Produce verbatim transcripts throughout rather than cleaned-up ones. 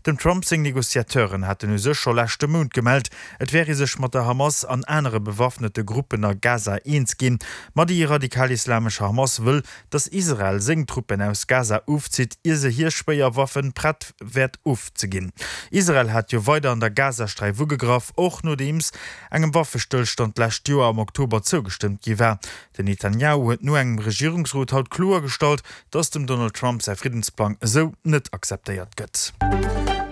Dem Trump seng Negociateuren haten u sech scho leschte Mount gemellt, et wär ee sech mat der Hamas an anere bewaffnete Gruppen a Gaza eens ginn. Ma déi radikal-islamesch Hamas wëll, datt Israel seng Truppen aus Gaza ofzitt, ier se hir schwéier Waffen prett wäert ofzeginn. Israel hat jo weider an der Gazasträif ugegraff, och nodeems engem Waffestëllstand d'lescht Joer am Oktober zougestëmmt gi war. Den Netanjahu huet no engem Regierungsrot haut kloergestallt, datt dem Donald Trump säi Friddensplang esou net akzeptéiert gëtt.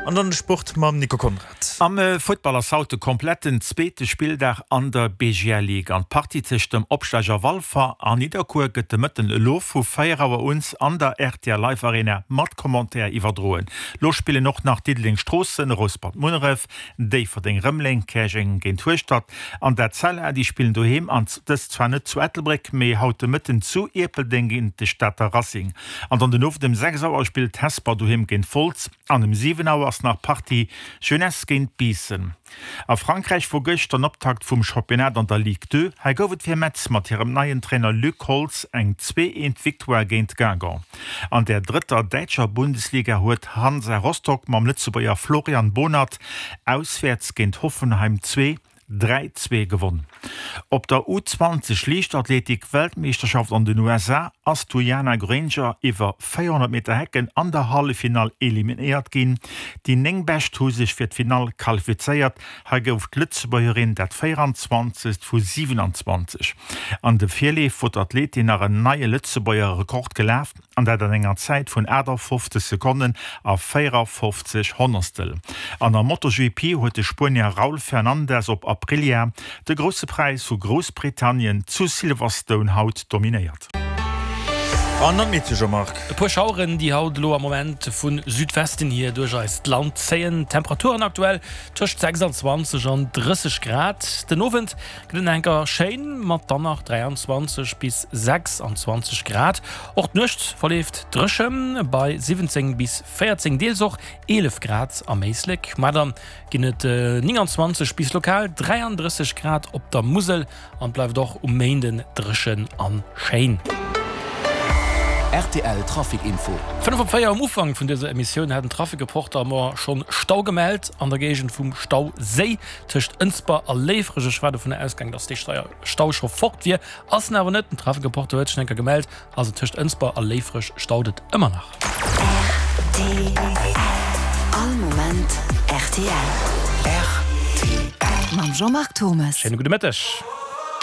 An dann de Sport mam Nico Conrad. Am Futtball ass haut de kompletten zweete Spilldag an der B G L Ligue an d'Partie tëscht dem Opsteiger Walfer an Nidderkuer gëtt de Mëtten elo vu véier Auer un an der R T L Live Arena mat Commentaire iwwerdroen. Lo spillen och nach Diddeleng Stroossen, Rouspert Munneref, Déifferdeng Rëmeleng, Käerjeng géint Hueschtert an d'Etzella. Déi spillen doheem an dëst zwar net zu Ettelbréck, mee haut de Mëtten zu Ierpeldeng géint de Stater Racing. An dann den Owend um sechs Auer spillt Hesper doheem géint Wolz an um siwen Auer ass nach Partie Jeunesse géint Biissen. A Frankräich wor gëschter den Optakt vum Championnat an der Ligue deux. Hei gouf et fir Metz mat hirem neien Trainer Luc Holtz eng zwee eent Victoire géint Guingamp. An der drëtter däitscher Bundesliga huet Hansa Rostock mam Lëtzebuerger Florian Bohnert auswäerts géint Hoffenheim zwee dräi zwee gewonn. Op der U zwanzeg Liichtathletik-Weltmeeschterschaft an den U S A ass d'Ujana Granger iwwer véierhonnert Meter Hecken an der Halleffinall eliminéiert ginn. Déi néng Bescht hu sech fir d'Finall qualifizéiert. Hei gouf d'Lëtzebuergerin dat véieranzwanzegst vu siewenundzwanzeg. An de Virleef wor d'Athletin nach en neie Lëtzebuerger Rekord gelaf, an dat an enger Zäit vun achtundfünfzig Sekunden a vierundfünfzig Honnerstel. An der MotoGP huet de Spuenier Raúl Fernández op Aprilia de grosse Preis vu Großbritannien zu Silverstone haut dominéiert. An dann mit Jean-Marc. E puer Schaueren, déi haut elo am Moment vun Südwesten hier duerch eist Land zéien. Temperaturen aktuell tëscht sechsundzwanzeg an drësseg Grad. Den Owend gëtt et enker schéin mat dann nach dräiandzwanzeg bis sechsundzwanzeg Grad. Och d'Nuecht verleeft dréchen bei siwwenzéng bis véierzéng, deels och eelef Grad am Éislek. Ma dann ginn et neunundzwanzeg bis lokal dräianddrësseg Grad op der Musel an bleift och um Méinden dréchen an schéin. R T L Trafic Info. Fënnef op véier am Ufank vun dëser Emissioun hat den Trafikreporter mer schonn Stau gemellt an der Géigend vum Stauséi tëscht Ënsber a Léifreg. Ech war dovun ausgaangen, datt dee Stau scho fort wier. Ass en awer net. Den Trafikreporter huet sech enker gemellt. Also tëscht Ënsber a Léifreg staut et ëmmer nach. R T L. All Moment R T L. R T L. Mam Jean-Marc Thomas. Schéine gudde Mëtteg.